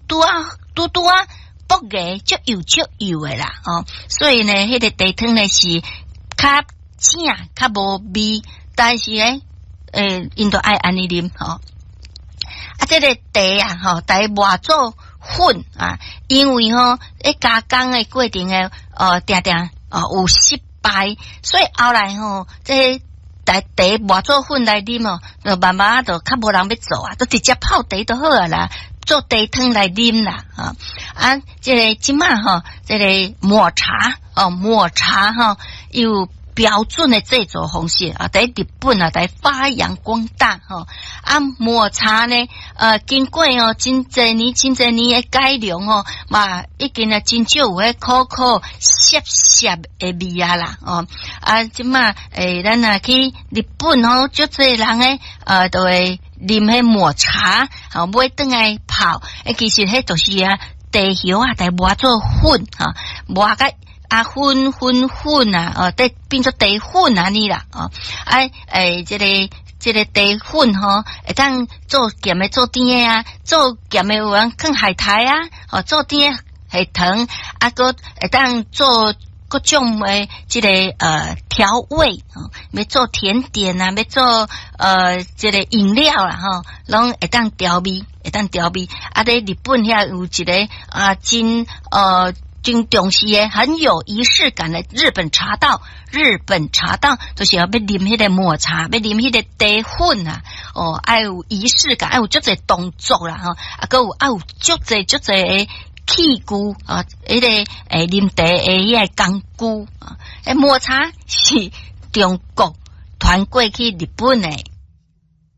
拄仔拄拄仔薄个，足幼足幼的啦，哦，所以呢，彼個茶湯呢是較正，較無味，但是呢，𪜶都愛按呢啉吼。啊，這個茶啊，吼，茶磨做粉啊，因為吼，咧加工的過程的，定定哦有失敗，所以後來吼，這個茶茶磨做粉來啉哦，就慢慢就較無人欲做啊，都直接泡茶就好啊啦，做茶湯來啉啦，啊，啊，這個這馬吼，這個抹茶哦，抹茶吼，有標準的製作方式啊，佇日本啊，佇發揚光大吼。啊，抹茶呢，經過哦，真濟年、真濟年的改良哦，嘛，已經啊，真少有彼苦苦澀澀的味啊啦，哦，啊，這馬咱若去日本吼，足濟人咧，都會啉彼抹茶，吼，買轉來泡，其實彼就是啊，茶葉啊，來磨做粉，吼，磨甲啊粉粉粉啊，哦，得變做茶粉按呢啦，哦，啊，這個茶粉吼，會當做鹹的做甜的啊，做鹹的有人囥海苔啊，哦，做甜的下糖，啊，閣會當做各種的這個調味，哦，欲做甜點啊，欲做這個飲料啦，吼，攏會當調味，會當調味。啊，佇日本遐有一個啊，真重視的，很有儀式感的日本茶道。日本茶道就是欲啉彼個抹茶，欲啉彼個茶粉啊，哦，愛有儀式感，愛有足濟動作啦，吼，啊，閣有愛有足濟足濟的器具啊，彼個啉茶的彼個工具啊，抹茶是中國傳過去日本的。